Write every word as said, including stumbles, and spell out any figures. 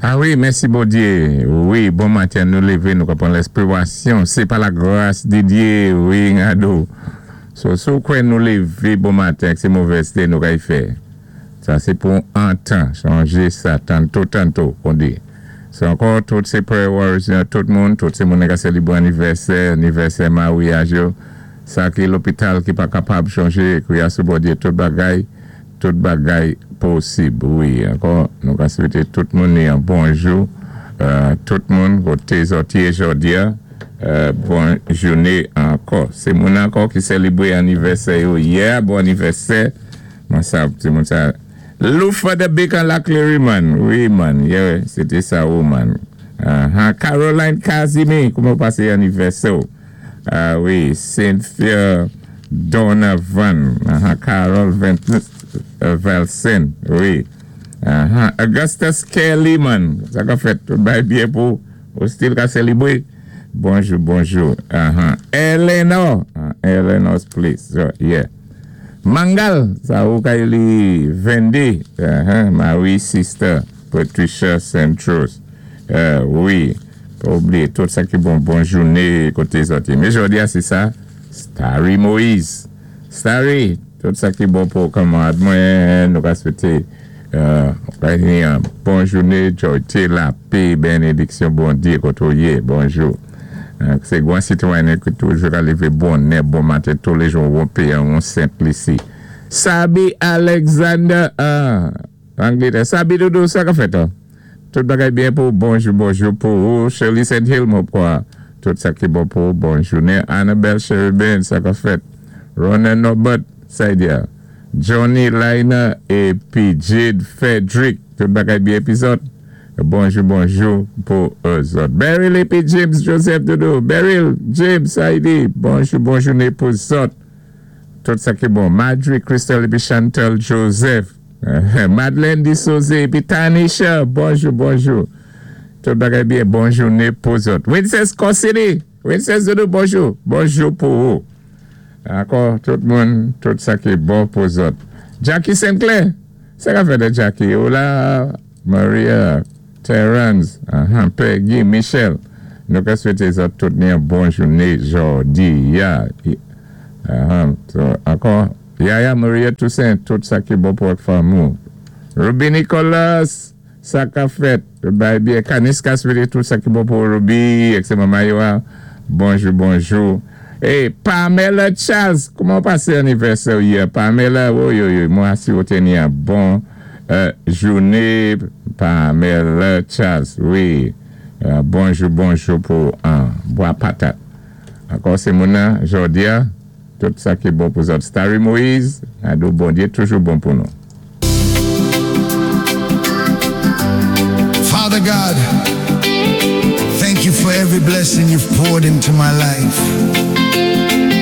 Ah wi, mèsi Bondyé. Wi, bon maten, nou lévé, nou ka pwan lèspirasyon. Sé pa la gras di Dyé, wi, Ngado. So, si kwè nou lévé bon maten, sé movèz té nou kay fè. Sa, sé pou an tan, chanjé sa, tanto, tanto, kon di. So, ankò, tout sé prayer warriors, tout moun, tout sé moun ka sélibré anivèsè, anivèsè maryaj yo. Sa ki lopital ki pa kapab chonjé, kwiyé sou Bondyé, tout bagay, tout bagay posib, wi. Ankò, nou ka swété tout moun yon bonjou, euh, tout moun, koté zòt yé jòdi a, euh, bon jouné ankò. Sé moun ankò ki sélibré anivèsè yo yè, bon anivèsè. Mwen sa, sé moun sa. Lufa the Bacon Laclery, man. Wi, man. Yeah, sété sa, oh, man. Uh-huh. Caroline Casimir, kouman pasé anivèsè? Ah wi, Cynthia Donovan, uh-huh. Carol uh, Velsen, wi. Uh-huh. Augustus Kelly, man. Sa ka fèt, tout bay byen pou ou still ka sélibré. Bonjou, bonjou. Uh-huh. Eleanor, uh, Eleanor's place. So, yeah. Mangal, sa ou kay li Vendi. Uh-huh. Marie sister, Patricia Centros. Uh, wi. Pa oubliyé tout sa ki bon, bon jouné koté zòt. Mé jòdi a, sé sa, Starry Moïse. Starry, tout sa ki bon pou kanmarad mwen, nou ka swété euh, yon bon jouné, jòyté, lapè, bénédiksyon, Bondyé, koté ou yé, bonjou. Euh, sé gwan sitwayen ki toujou ka lévé bonè, bon maten, tou lé jou, on pé, on Saint-Lucie. Sabi Alexander, ah, Angletè, Sabi Doudou, sa ka fèt, hein? Tout bagay byen pou bonjou, bonjou pou ou. Shirley Saint Hill, mwen kwa. Tout sa ki bon pou bon jouné. Annabelle Sherubin, sa ka fèt. Ronan Norbert, Saidia. Johnny Liner épi Jade Frederick. Tout bagay byen épi zòt. Bonjou, bonjou pou zòt. Beryl épi James Joseph Doudou. Beryl, James, Saidi. Bonjou, bon jouné pou zòt. Tout sa ki bon. Marjorie Crystal épi Chantal Joseph. Madeleine Dissose épi Tanisha. Bonjou, bonjou. Tout bagay byen. Bon jouné pou zòt. Princess Cossini. Princess Doudou, bonjou. Bonjou pou ou. Ankò, tout moun, tout sa ki bon pou zòt. Jackie Sinclair. Sa ka fèt Jackie. Hola, Maria, Terence, uh-huh, Peggy, Michel. Nou ka swété zòt tout ni yon bon jouné jòdi. Ya. Uh-huh. So, ankò, Yaya Maria Toussaint, tout sa ki bon pou ak fanmi. Ruby Nicolas, sa ka fèt. Bay byen. Kaniska swété tout sa ki bon pou Ruby, ek sé manman yo. Bonjou, bonjou. Hey, Pamela Charles, kouman pasé anivèsè yè? Pamela, wi, wi, wi, mwen swété ni yon bon euh, jouné. Pamela Charles, wi. Euh, bonjou, bonjou pou an bwa patat. Ankò, sé moun jòdi a, tout sa ki bon pou zòt. Starry Moïse, ado Bondyé, toujou bon pou nou. Father God, thank you for every blessing you've poured into my life.